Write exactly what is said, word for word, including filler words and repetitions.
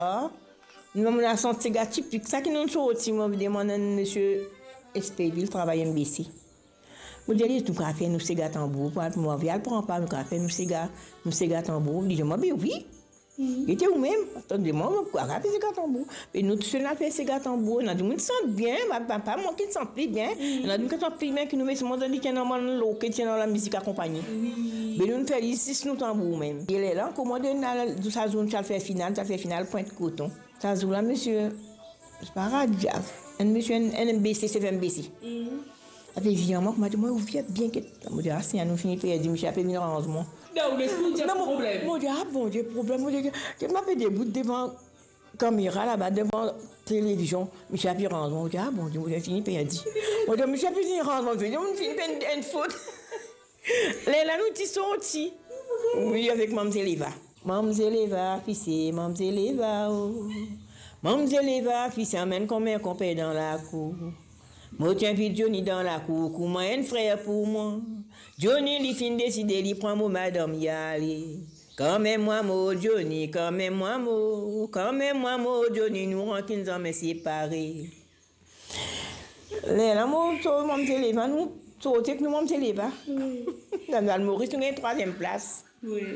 Ah, nou, nou la sant sega tipik, sa ki nou sorti, mo demann enn misie Espevil, travay M B C. Mo dir li, nou kapav fer nou sega tanbour, pou al, pou mo al pran par, nou kapav fer nou sega, nou sega tanbour. Li dir mwa, be wi. Li dir ou mem, atann, mo kapav fer sega tanbour. E nou tousel nou al fer sega tanbour, nou dimoun ti sant bien, pa, pa, pa mwa ki sant pli bien, nou dimoun ki sant pli bien ki nou, me selman li ti ena bann loke, ti ena lamizik akonpagne. Be nou, nou fer li zis nou tanbour mem. E lerla, kouma nou al, sa zour nou ti al fer final, ti al fer final Pwint Koton. Sa zour la, misie, se pa Radiaf, enn misie, enn, enn M B C, sef M B C. Ape vinn vwar mwa, kouma dir mwa, ou vinn bien, get. Mo dir, ah, si nou fini perdi, misie ape vinn ranz mwa. Non, ou lespri dir problem. Mo dir, ah, Bondie, problem. Mo dir, get, mo pe debout devan kamera laba, devan televizion, misie ape ranz mwa. Mo dir, ah, Bondie, mo fini perdi. Mo dir, misie ape vinn ranz mwa, mo fini, mo fini fer enn, enn fot. Lerla nou ti sorti. Wi, avek Mamzel Eva. Mamzel Eva, fise, Mamzel Eva, oh. Mamzel Eva, fise, amenn konmer konper dan lakour. Mo ti invit Johnny dan lakour, kouma enn frer pou mwa. Johnny, li finn deside, li pran mo madam, li ale. Kanmem mwa mo Johnny, kanmem mwa mo, kanmem mwa mo Johnny, nou rankin zame separe. Lerla mo so Mamzel Eva, nou sorti ek nou Mamzel Eva. Wi. Dan Lalmoris, nou gagn trwaziem plas. Wi.